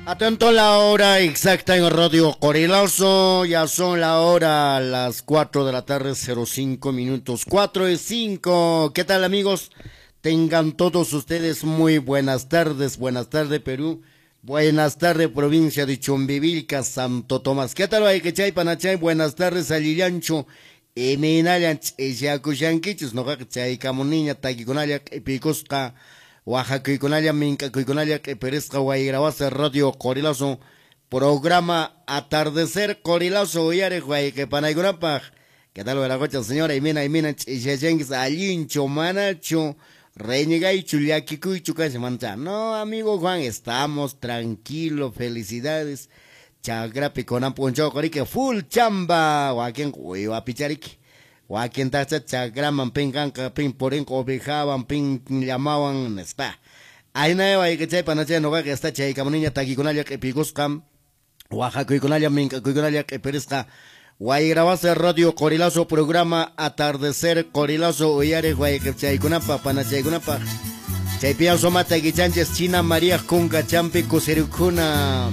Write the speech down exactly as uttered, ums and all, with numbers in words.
Atento la hora exacta en Radio Qorilazo, ya son la hora las cuatro de la tarde, cero cinco minutos, cuatro y cinco. ¿Qué tal, amigos? Tengan todos ustedes muy buenas tardes, buenas tardes Perú, buenas tardes provincia de Chumbivilcas, Santo Tomás. ¿Qué tal, wayqichay, panachay? Buenas tardes, allillanchu, imaynallan ch'isyakushankichis, noqaqa chaykamuniña takikunalla q'ipikusqa, waqakuykunalla mink'akuykunalla q'ipirisqa Wayrawasi Radio Qorilazo, programa Atardecer Qorilazo uyariq wayqi panaykunapaq. ¿Qué tal, wiraqucha señora? Imina, imina ch'isyachankis, allinchu, manachu, reñigaychu, llakikuychu kashan mancha. No, amigo Juan, estamos tranquilos, felicidades. Chakrapi kunan p'unchaw qoriki full chamba, wakin uywapichariki. Wakin tacha chakraman pin kanka, pin purinqa ovejawan, pin llamawan, nispa. Ayna wayqichay panachay noqaqa está chaykamuniña takikunalla q'ipikusqa, waqakuykunalla mink'akuykunalla q'ipirisqa. Wayrawasi Radio Qorilazo, programa Atardecer Qorilazo uyariq wayqichaykunapaq, panachaykunapaq. Chaypi sumata kichanchis China María kunka champi kusirukuna.